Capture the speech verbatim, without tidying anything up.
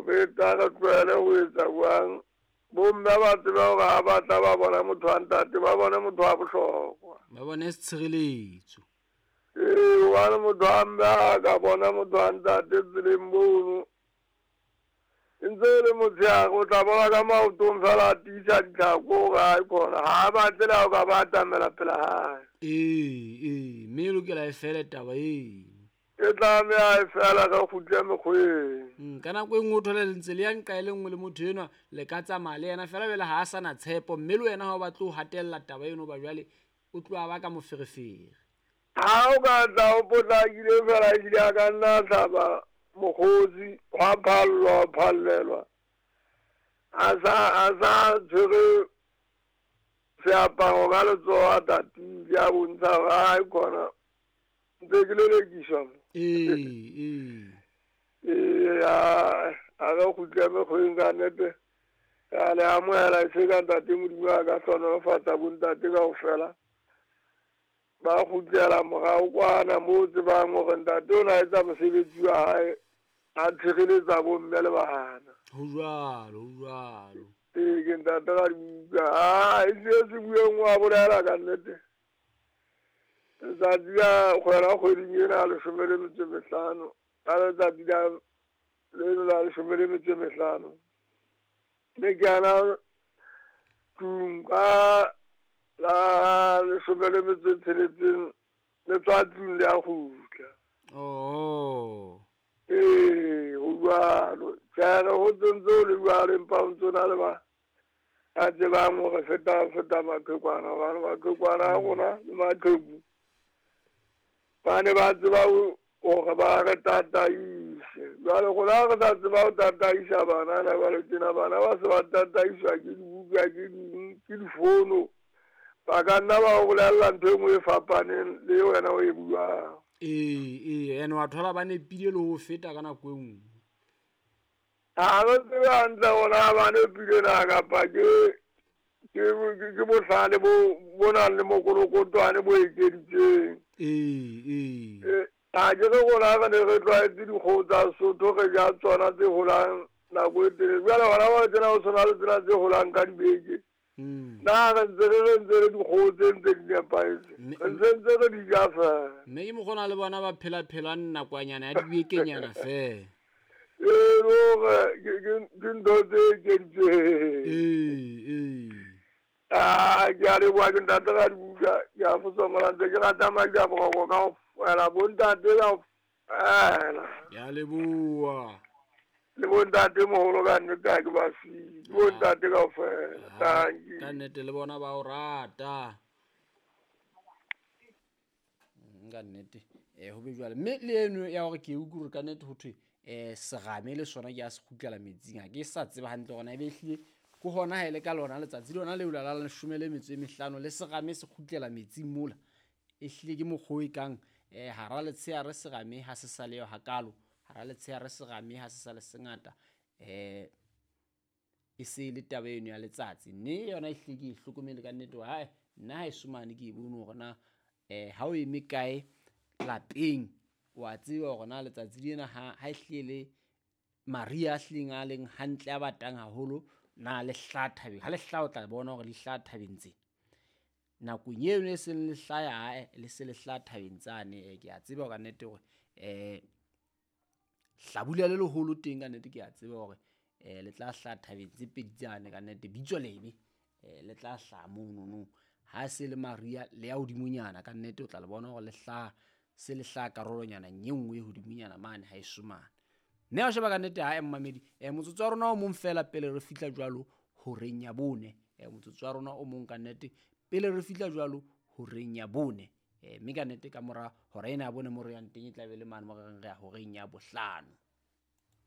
beta, re tlohele ho etsa jwang. Bomme ba tsebe hore ha ba tla ba bona motho wa ntate, ba bone motho wa bohlokwa. Ba bone tshireletso. Ee, hobane motho wa mme ha ka bona motho wa ntate tseleng mono, e ntse e le motshehare, o tla bona ka maotong fela a tiisa ditlhako hore ha e khona. Ha a batle le ha o ka ba atamela pela hae. Ee, ee, mme e lokela e fele taba eno. E tlameha e fela re kgutle mekgweng. Mm, ka nako e nngwe o thole le ntse le ya nqa e le nngwe le motho enwa, le ka tsamaya le yena fela jwale ha a sa na tshepo, mme le wena ha o batle ho hatella taba eno hoba jwale o tloha ba ka moferefere. Ha o ka tla o potlakile fela ehlile a ka nna a hlaba mokgotsi, hwa phallwa, hwa phallelwa. A sa, a sa tshwere seaparo ka letsoho a tatile, a bontsha hore ha e khona ntse ke lelekiswa mo. Ee, ee. Ee, a, a re kgutle mekgweng ka nnete. Re a le amohela e se ka ntate Modimo a ka hlohonolofatsa bontate kaofela. Ba kgutlela morao kwana moo tsebang hore ntate o na etsa mosebetsi wa hae, a tshireletsa bomme le bana. Ho jwalo, ho jwalo. Ee, ke ntate Radibuka. Ah, e se se bueng wa bolela ka nnete. Letsatsi la kgwela kgweding ena ya leshome le metso e mehlano, ka letsatsi la leno la leshome le metso e mehlano, mme ke ana tlung ka la leshome le metso e tsheletseng, le tswa tlung le a kgutla. Oh. Ee, ho jwalo. Tjhe, ho ntse ho le jwalo, empa ho ntso na le ba a tsebang hore feta, feta maqhekwana, hobane maqhekwana a rona le maqheku ba ne ba tseba hore ba re tataise. Jwale rona re sa tseba ho tataisa banana, jwale tjena bana ba se ba tataiswa ke dibuka, ke ding, ke difono. Ba ka nna ba o bolella ntho e nngwe e fapaneng le wena o e buang. Ee, ee, ene wa thola ba nepile le ho feta ka nako e nngwe. Ha re tsebe hantle hore na ba nepile na kapa ke, ke, ke bohlale bo, bo nang le mokolokotwane bo ekeditseng. Ee, ee. Ee, ha ke re rona re ne re tlwaetse dikgoho tsa Sesotho, re ja tsona tse holang nako e telele. Jwale hona ba tsena ho tshwana le tsena tse holang ka dibeke. Mm. Na re ntse re re ntse re dikgoho tse ntse di nepahetse. Mme- Re ntse ntse re di ja feela. Mme ke mokgwa o na le bona ba phela-phelang nakwanyana ya dibekenyana feela. Ee, le hore ke, ke, ke ntho tse ekeditsweng. Ee, ee. Ah, ke a leboha ke ntate Radibuka, ke a fosomola ntse ke rata madi a boroko kaofela, bontate kaofela. Ke a leboha. Le bontate moholo ka nnete ha ke ba siye, bontate kaofela. Ah, Thank you. Ka nnete le bona ba o rata. Mm, ka nnete. Eh, ho be jwale. Mme le eno ya hore ke utlwe hore ka nnete ho thwe, eh, serame le sona ke a se kgutlela metsing. Ha ke sa tseba hantle hore na ebe ehlile ke hona ha e le ka lona letsatsi lona leo la la leshome le metso e mehlano le serame se kgutlela metsing mola. Ehlile ke mokgwa o e kang, eh, hara letshehare serame ha se sa le yo hakalo, hara letshehare serame ha se sa le sengata, eh, e se le taba eno ya letsatsi. Mme yona ehlile ke e hlokomele ka nnete hore, hae, nna ha eso mane ke e bone hore na, eh, ha o eme kae lapeng, wa tseba hore na letsatsi lena ha, ha ehlile le mariha a hlileng a leng hantle a batang haholo, na le hlaha thabeng. Ha le hlaha o tla bona hore le hlaha thabeng tse. Nakong eno e seng le hlaya hae, le se le hlaha thabeng tsane, eh, ke a tseba ka nnete hore, eh, hlabula le leholo teng ka nnete ke a tseba hore, eh, le tla hlaha thabeng tse pedi tsane ka nnete, bitso lebe, eh, le tla hlaha monono. Ha se le mariha le ya hodimonyana ka nnete o tla le bona hore le hlaha, se le hlaha karolonyana e nngwe e hodimonyana mane ha eso mane. Mme ha o sheba ka nnete ha e mmamedi, eh, motsotso wa rona o mong fela pele re fihla jwalo horeng ya bone. Eh, motsotso wa rona o mong ka nnete pele re fihla jwalo horeng ya bone. Eh, mme ka nnete ka mora hora ena ya bone mo re yang teng e tla be le mane mo re reng re ya horeng ya bohlano.